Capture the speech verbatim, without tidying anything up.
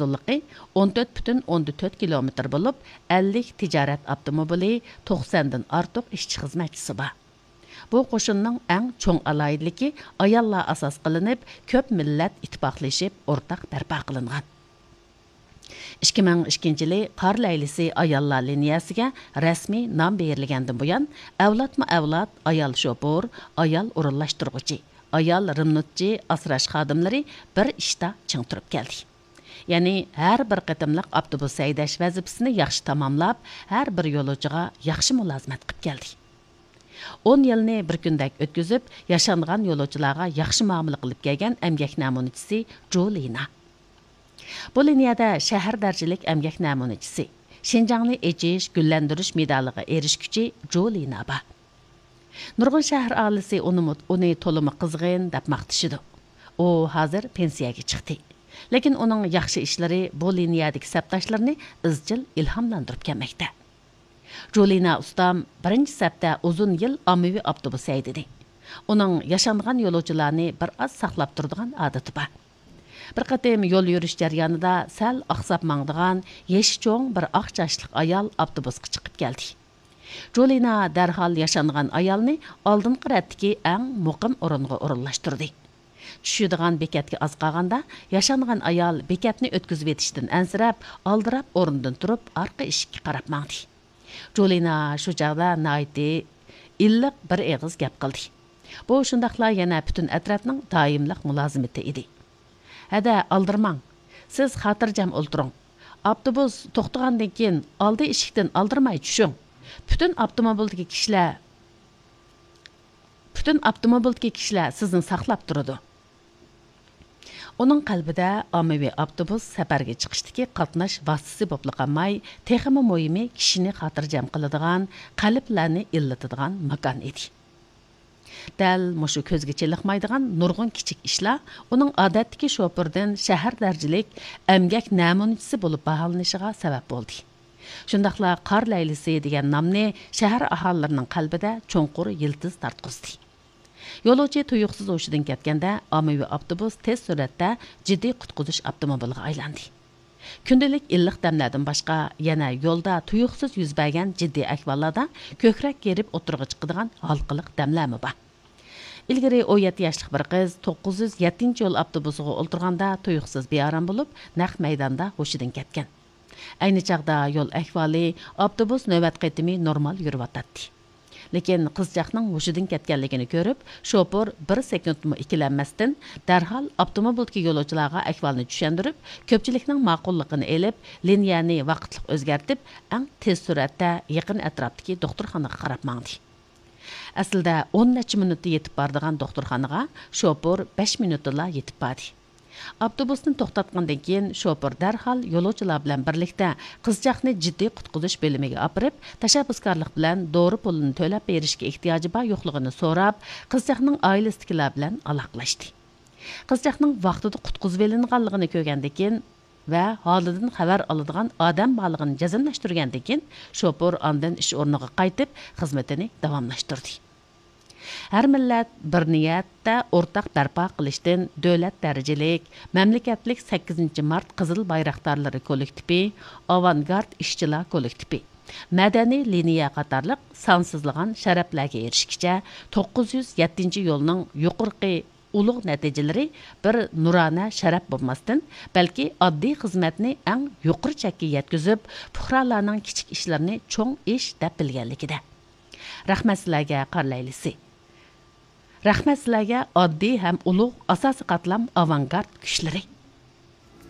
ئۇزۇنلۇقى ئون تۆت پۈتۈن ئوندىن تۆت كىلومېتىر بولۇپ، ئەللىك تىجارەت ئاپتوموبىلى، توقساندىن ئارتۇق ئىشچى-خىزمەتچىسى بار. بۇ قوشۇننىڭ ئەڭ چوڭ ئالاھىدىلىكى ئاياللار ئاساس قىلىنىپ، كۆپ مىللەت ئىتتىپاقلىشىپ ئورتاق بەرپا قىلىنغان. ئىككى مىڭ ئىككىنچى يىلى قار لەيلىسى ئاياللار لىنىيەسىگە رەسمىي نام بېرىلگەندىن بۇيان، ئەۋلادمۇ ئەۋلاد ئايال شوپۇر، ئايال ئورۇنلاشتۇرغۇچى، ئايال رېمونتچى، ئاسراش خادىملىرى بىر ئىشتا چىڭ تۇرۇپ كەلدى. يەنى ھەر بىر قېتىملىق ئاپتوبۇس ھەيدەش ۋەزىپىسىنى ياخشى تاماملاپ، ھەر بىر يولۇچىغا ياخشى مۇلازىمەت قىلىپ كەلدى. ئون يىلنى بىر كۈندەك ئۆتكۈزۈپ، ياشانغان يولۇچىلارغا ياخشى مۇئامىلە قىلىپ كەلگەن ئەمگەك نەمۇنىچىسى جۇلىنا. بۇ لىنىيەدە شەھەر دەرىجىلىك ئەمگەك نەمۇنىچىسى، شىنجاڭنى ئېچىش، گۈللەندۈرۈش مېدالىغا ئېرىشكۈچى جۇلىنا بار. نۇرغۇن شەھەر ئاھالىسى ئۇنىمۇ، ئۇنى تولىمۇ قىزغىن دەپ ماختىشىدۇ. ئۇ ھازىر پېنسىيەگە چىقتى. لېكىن ئۇنىڭ ياخشى ئىشلىرى بۇ لىنىيەدىكى سەپداشلىرىنى ئىزچىل ئىلھاملاندۇرۇپ كەلمەكتە. جۇلىنا ئۇستام بىرىنچى سەپتە ئۇزۇن يىل ئاممىۋى ئاپتوبۇس ھەيدىدى. ئۇنىڭ ياشانغان يولۇچىلارنى بىر ئاز ساقلاپ تۇرىدىغان ئادىتى بار. بىر قېتىم يول يۈرۈش جەريانىدا سەل ئاقساپ ماڭىدىغان يېشى چوڭ بىر ئاق چاچلىق ئايال ئاپتوبۇسقا چىقىپ كەلدى. جۇلىنا دەرھال ياشانغان ئايالنى ئالدىنقى رەتتىكى ئەڭ مۇقىم ئورۇنغا ئورۇنلاشتۇردى. چۈشىدىغان بېكەتكە ئاز قالغاندا، ياشانغان ئايال بېكەتنى ئۆتكۈزۈۋېتىشتىن ئەنسىرەپ، ئالدىراپ ئورنىدىن تۇرۇپ، ئارقا ئىشىككە قاراپ ماڭدى. جۇلىنا شۇ چاغدا ناھايىتى ئىللىق بىر ئېغىز گەپ قىلدى. بۇ شۇنداقلا يەنە پۈتۈن ئەترەتنىڭ دائىملىق مۇلازىمىتى ئىدى. ھەدە، ئالدىرىماڭ. سىز خاتىرجەم ئولتۇرۇڭ. ئاپتوبۇس توختىغاندىن كېيىن، ئالدى ئىشىكتىن ئالدىرىماي چۈشۈڭ. پۈتۈن ئاپتوموبىلدىكى كىشىلەر، پۈتۈن ئاپتوموبىلدىكى كىشىلەر سىزنى ساقلاپ تۇرىدۇ. ئۇنىڭ قەلبىدە ئاممىۋى ئاپتوبۇس سەپەرگە چىقىشتىكى قاتناش ۋاسىتىسى بولۇپلا قالماي، تېخىمۇ مۇھىمى، كىشىنى خاتىرجەم قىلىدىغان، قەلبلەرنى ئىللىتىدىغان ماكان ئىدى. دەل مۇشۇ كۆزگە چېلىقمايدىغان نۇرغۇن كىچىك ئىشلار ئۇنىڭ ئادەتتىكى شوپۇردىن شەھەر دەرىجىلىك ئەمگەك نەمۇنىچىسى بولۇپ باھالىنىشىغا سەۋەب بولدى. شۇنداقلا قار لەيلىسى دېگەن نامنى شەھەر ئاھالىلىرىنىڭ قەلبىدە چوڭقۇر يىلتىز تارتقۇزدى. يولۇچى تۇيۇقسىز ھوشىدىن كەتكەندە، ئاممىۋى ئاپتوبۇس تېز سۈرئەتتە جىددىي قۇتقۇزۇش ئاپتوموبىلىغا ئايلاندى. كۈندىلىك ئىللىق دەملەردىن باشقا، يەنە يولدا تۇيۇقسىز يۈز بەرگەن جىددىي ئەھۋاللاردا كۆكرەك كېرىپ ئوتتۇرىغا چىقىدىغان ھالقىلىق دەملەرمۇ بار. ئىلگىرى ئون يەتتە ياشلىق بىر قىز توققۇز يۈز يەتتىنچى يول ئاپتوبۇسىغا ئولتۇرغاندا تۇيۇقسىز بىئارام بولۇپ، نەق مەيداندا ھوشىدىن كەتكەن. ئەينى چاغدا يول ئەھۋالى، ئاپتوبۇس نۆۋەت قېتىمى نورمال يۈرۈۋاتاتتى. لېكىن قىزچاقنىڭ ھوشىدىن كەتكەنلىكىنى كۆرۈپ، شوپۇر بىر سېكۇنتمۇ ئىككىلەنمەستىن، دەرھال ئاپتوموبىلدىكى يولۇچىلارغا ئەھۋالنى چۈشەندۈرۈپ، كۆپچىلىكنىڭ ماقۇللۇقىنى ئېلىپ، لىنىيەنى ۋاقىتلىق ئۆزگەرتىپ، ئەڭ تېز سۈرئەتتە يېقىن ئەتراپتىكى دوختۇرخانىغا قاراپ ماڭدى. ئەسلىدە ئون نەچچە مىنۇتتا يېتىپ بارىدىغان دوختۇرخانىغا شوپۇر بەش مىنۇتتىلا يېتىپ باردى. ئاپتوبۇسنى توختاتقاندىن كېيىن، شوپۇر دەرھال يولۇچىلار بىلەن بىرلىكتە قىزچاقنى جىددىي قۇتقۇزۇش بۆلۈمىگە ئاپىرىپ، تەشەببۇسكارلىق بىلەن دورا پۇلىنى تۆلەپ بېرىشكە ئېھتىياجى بار يوقلۇقىنى سوراپ، قىزچاقنىڭ ئائىلىسىدىكىلەر بىلەن ئالاقىلەشتى. قىزچاقنىڭ ۋاقتىدا قۇتقۇزۇۋېلىنغانلىقىنى كۆرگەندىن كېيىن، ۋە ھالىدىن خەۋەر ئالىدىغان ئادەم بارلىقىنى جەزملەشتۈرگەندىن كېيىن، شوپۇر ئاندىن ئىش ئورنىغا قايتىپ، خىزمىتىنى داۋاملاشتۇردى. ھەر مىللەت بىر نىيەتتە ئورتاق بەرپا قىلىشتىن دۆلەت دەرىجىلىك، مەملىكەتلىك سەككىزىنچى مارت قىزىل بايراقدارلىرى كوللېكتىپى، ئاۋانگارت ئىشچىلار كوللېكتىپى، مەدەنىي لىنىيە قاتارلىق سانسىزلىغان شەرەپلەرگە ئېرىشكىچە، توققۇز يۈز يەتتىنچى يولنىڭ يۇقىرىقى ئۇلۇغ نەتىجىلىرى بىر نۇرانە شەرەپ بولماستىن، بەلكى ئاددىي خىزمەتنى ئەڭ يۇقىرى چەككە يەتكۈزۈپ، پۇقرالارنىڭ كىچىك ئىشلىرىنى چوڭ ئىش دەپ بىلگەنلىكىدە. رەھمەت سىلەرگە، قار لەيلىسى! رەھمەت سىلەرگە، ئاددىي ھەم ئۇلۇغ ئاساسىي قاتلام ئاۋانگارت كۈچلىرى!